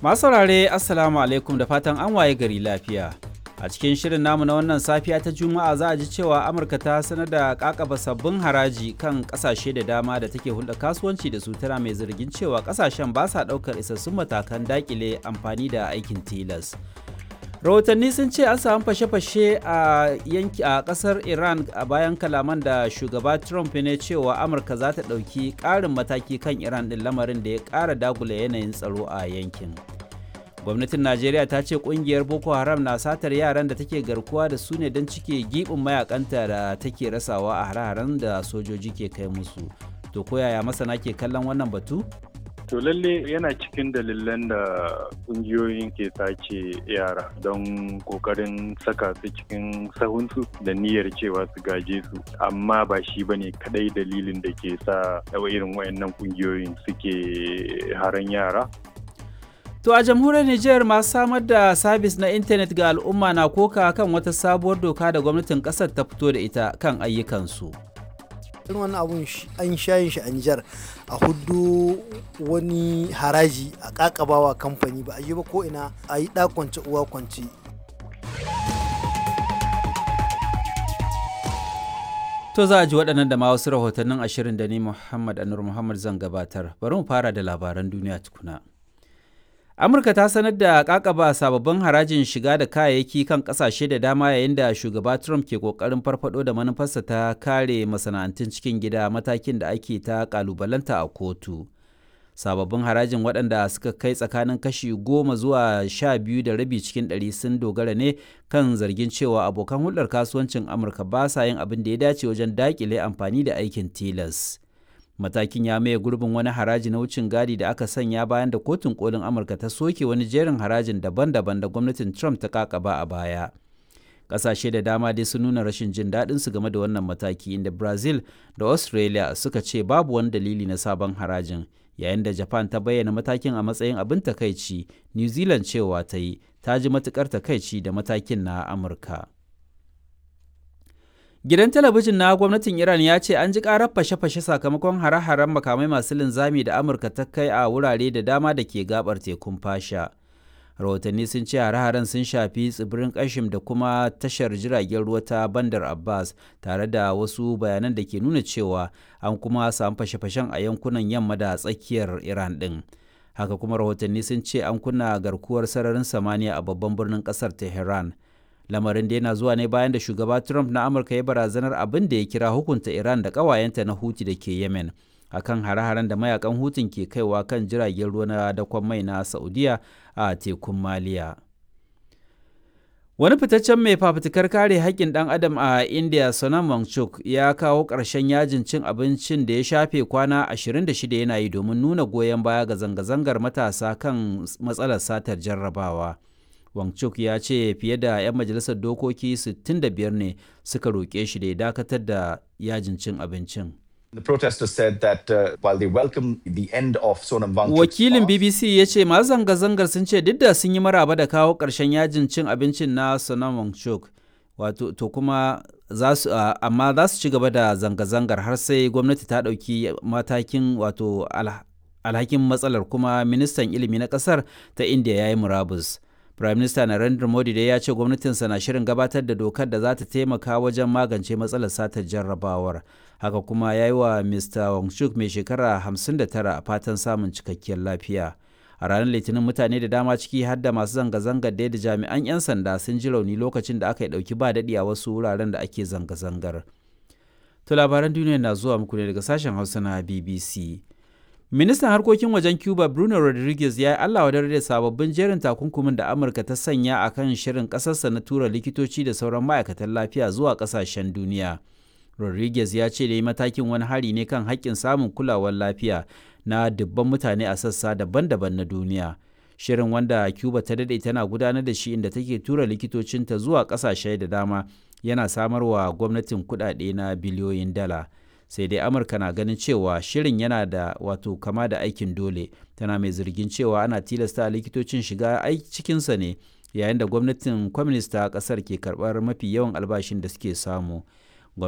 Masu saurare, Assalamu alaikum, da fatan an waye gari lafiya. A cikin shirin namu na wannan safiya ta Juma'a, za a ji cewa Amurka ta sanar da kakaba sabbin haraji kan kasashe da dama da take hulɗa kasuwanci da su, tana mai zargin cewa kasashen ba sa ɗaukar isassun matakan dakile amfani da aikin tilas. Rahotanni sun ce an samu fashe-fashe a yanki a kasar Iran a bayan kalaman da shugaba Trump ne cewa Amurka za ta ɗauki ƙarin mataki kan Iran ɗin, lamarin da ya ƙara dagula yanayin tsaro a yankin. Gwamnatin Najeriya ta ce kungiyar Boko Haram na satar yaran da take garkuwa da su ne don cike gibin mayakanta da take rasawa a hare-haren da sojoji ke kai musu. To, koyaya masana ke kallon wannan batu? To, lalle yana cikin dalilan da kungiyoyin ke sace yara don kokarin saka su cikin sahunsu da niyyar cewa su gaje su, amma ba shi bane kadai dalilin da ke sa irin wayannan kungiyoyin suke haran yara. To, a jamhuriyar Nijar, masu samar da sabis na intanet ga al'umma na koka kan wata sabuwar doka da gwamnatin kasar ta fito da ita kan ayyukansu. Irin wannan abun an shayin shi a Nijar, a hudu wani haraji a kakabawa kamfani, ba a yi ba ko ina a yi kwance uwa kwance. To, za a ji waɗannan da ma wasu rahotannin ashirin da ni Muhammad Anur Muhammad zan gabatar. Bari mu fara da labaran duniya tukuna. Amurka ta sanar da kakaba sababbin harajin shiga da kayayyaki kan kasashe da dama, yayin da shugaba Trump ke kokarin farfado da manufarsa ta kare masana'antun cikin gida, matakin da ake ta kalubalanta a kotu. Sababbin harajin, waɗanda suka kai tsakanin kashi 10 zuwa 12.5 cikin ɗari, sun dogara ne kan zargin cewa abokan hulɗar kasuwancin Amurka ba sa yin abin da ya dace wajen daƙile amfani da aikin tilas. Matakin ya maye gurbin wani haraji na wucin gadi da aka sanya bayan da Kotun Kolin Amurka ta soke wani jerin harajin daban-daban da gwamnatin Trump ta kakaba a baya. Ƙasashe da dama dai sun nuna rashin jin daɗin su game da wannan mataki, inda Brazil da Australia suka ce babu wani dalili na sabon harajin, yayin da Japan ta bayyana matakin a matsayin abin takaici. New Zealand cewa ta yi ta ji matukar takaici da matakin na Amurka. Gidan talabijin na gwamnatin Iran ya ce an ji karar fashe-fashe sakamakon hare-haren makamai masu linzami da Amurka ta kai a wurare da dama da ke gabar tekun Fasha. Rahotanni sun ce hare-haren sun shafi tsibirin Kashim da kuma tashar jiragen ruwa ta Bandar Abbas, tare da wasu bayanan da ke nuna cewa an kuma samu fashe-fashen a yankunan yamma da tsakiyar Iran ɗin. Haka kuma rahotanni sun ce an kunna garkuwar sararin samaniya a babban birnin ƙasar Tehran. Lamarin da yana zuwa ne bayan da shugaba Trump na Amurka ya barazanar abin da ya kira hukunta Iran da ƙawayenta na Huti da ke Yemen akan hare-haren da mayakan Hutun ke kaiwa kan jiragen ruwa na dakon mai na Saudiya a tekun Maliya. Wani fitaccen mai fafutukar kare haƙƙin ɗan adam a India, Sonam Wangchuk, ya kawo ƙarshen yajin cin abincin da ya shafe kwana 26 yana yi domin nuna goyon baya ga zanga-zangar matasa kan matsalar satar jarrabawa. Wangchuk ya ce fiye da 'yan majalisar dokoki 65 ne suka roƙe shi da ya dakatar da yajin cin abincin. The protesters said that while they welcome the end of Sonam Wangchuk's Wakilin BBC ya ce masu zanga-zangar sun ce duk da sun yi maraba da kawo ƙarshen yajin cin abincin na Sonam Wangchuk, wato to kuma za su amma za su ci gaba da zanga-zangar har sai gwamnati ta ɗauki matakin, wato alhakin matsalar, kuma ministan ilimi na ƙasar ta India ya yi murabus. Prime Minister Narendra Modi dai ya ce gwamnatinsa na shirin gabatar da dokar da za ta taimaka wajen magance matsalar satar jarrabawar. Haka kuma ya yi wa Mr. Wangchuk mai shekara 59 fatan samun cikakkiyar lafiya. A ranar Litinin, mutane da dama, ciki har da masu zanga-zangar da jami'an 'yan sanda, sun ji rauni lokacin da aka yi ɗauki ba daɗi a wasu wuraren da ake zanga-zangar. To, labaran duniya na zuwa muku ne daga sashen Hausa na BBC. Ministan harkokin wajen Cuba, Bruno Rodriguez, ya yi Allah wadar da sababbin jerin takunkumin da Amurka ta sanya a kan shirin ƙasarsa na tura likitoci da sauran ma'aikatan lafiya zuwa ƙasashen duniya. Rodriguez ya ce da yi matakin wani hari ne kan haƙƙin samun kulawar lafiya na dubban mutane a sassa daban-daban na duniya. Shirin, wanda Cuba ta daɗe tana gudanar da shi, inda take tura likitocinta zuwa ƙasashe da dama, yana samarwa gwamnatin kuɗaɗe na biliyoyin dala. Sai dai Amurka na ganin cewa shirin yana da wato kama da aikin dole, tana mai zargin cewa ana tilasta likitocin shiga cikinsa ne yayin da gwamnatin kwaminista kasar ke karbar mafi yawan albashin da suke samu.